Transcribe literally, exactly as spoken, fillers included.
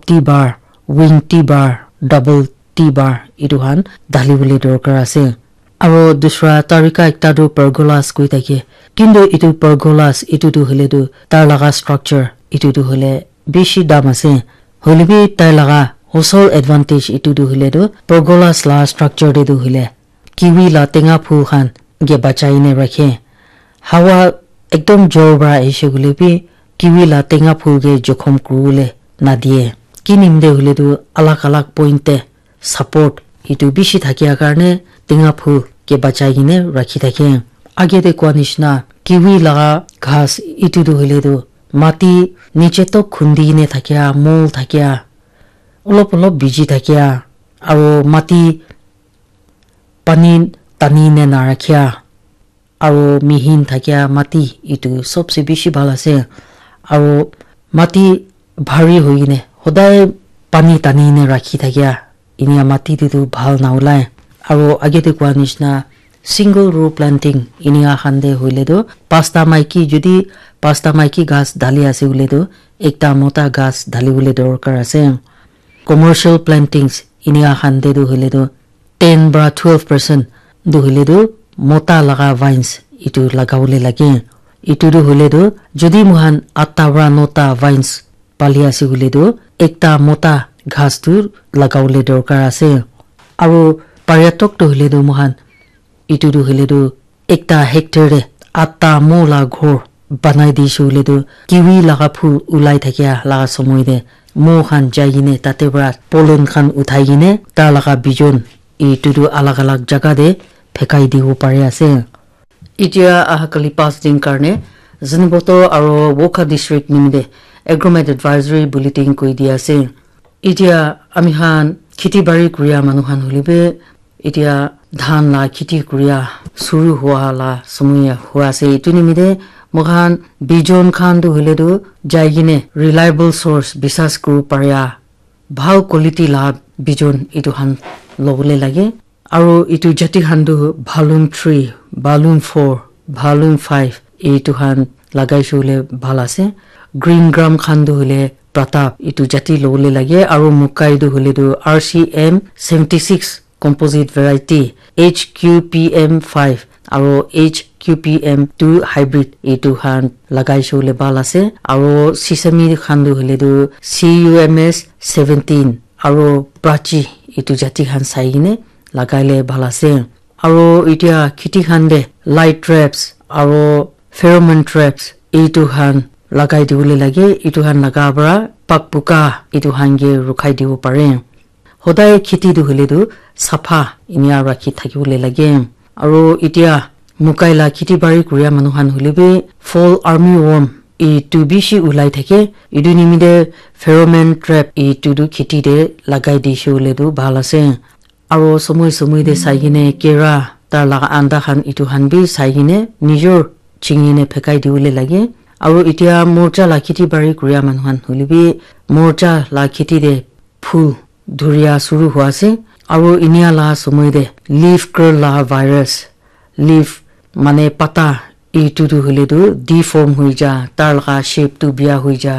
T-bar, wing T-bar, double T-bar etu khan dali bole dorkar ase. Aro dusra tarika ekta tu pergolas koi thake. Kintu etu pergolas etu tu hoile tu tar laga structure etu tu hoile bishi dam ase. Hoile bi tai laga osol advantage etu tu hoile tu pergolas la structure te tu hoile kiwi la tenga phul khan ke bachai ne rakhe. Hawa ekdom jor para ahishe koile bi kiwi la tenga phul ke jokhom kuribole nadie. Ki nimite hoile tu alag alag point te support etu bishi thakia karne tenga phul ke bachai kene rakhi thake. Age te koa nishina kiwi laga ghas etu tu hoile tu mati niche tok khundi ne thakia, mol thakia, olop olop biji thakia, aro mati pani tani ne narakhia, aro mihin thakia mati etu sobse bishi bhal ase. Aro mati bhari hoikene hodai pani tani ne rakhi thakia enia mati te tu bhal na ulai. Aro age te koa nishina single row planting enia khan te hoile tu pasta maiki jodi pasta maiki ghas dali ase hoile tu ekta mota ghas dali bole dorkar ase. Commercial plantings enia khan te tu hoile tu ten para twelve percent tu hoile tu mota laga vines etu lagabole lage. Etu tu hoile tu jodi moikhan atta para nota vines pali ase koile tu ekta mota ghas tu lagabole dorkar ase. Aro pariatok tu hoile tu moikhan etu tu hoile tu ekta hectare te atta mo la ghor banai dise koile tu kiwi laga phul ulai thakia laga somoi te mo khan jai kene tate para pollen khan uthai kene ta laga bijon etu tu alag alag jaga te phekai dibo pari ase. Etia aha kali pas din karne Zunheboto aro Wokha district nimite agromet advisory bulletin koi dia ase. Etia ami khan kheti bari kuria manu khan hoile bi etia dhan la kheti kuria suru hua la somoi hua ase. Etu nimite moikhan bijon khan tu hoile tu jai kene reliable source bisas kuri paria bhal quality la bijon etu khan lobole lage. Aro etu jati khan tu Bhalun three, Bhalun four, Bhalun five etu khan lagai shole bhal ase. Green gram khan tu hoile Pratap etu jati lobole lage. Aro mukai tu hoile tu R C M seventy six composite variety, H Q P M five aro H Q P M two hybrid etu khan lagai shole bhal ase. Aro sesame khan tu hoile tu C U M S seventeen aro Prachi etu jati khan sai kene lagai le bhal ase. Aro etia kheti khan te light traps aro pheromone traps etu khan lagai dibole lage. Etu khan laga para pak puka etu khan ke rukhai dibo pare. Hodai kheti tu hoile tu sapha enia rakhi thakibole lage. Aro etia mukai la kheti bari kuria manu khan hoile bi fall army worm etu bishi ulai thake. Etu nimite pheromone trap etu tu kheti te lagai dise hoile tu bhal ase. Aro somoi somoi te sai kene kera tar laga anda khan etu khan bi sai kene nijor chingi ne phekai dibole lage. Aro etia morcha la kheti bari kuria manu khan hoile bi morcha la kheti te phul dhuria suru hua ase. Aro enia la somoi te leaf curl la virus, leaf mane pata etu tu hoile tu deform hoi ja, tar laga shape tu bia hoi ja,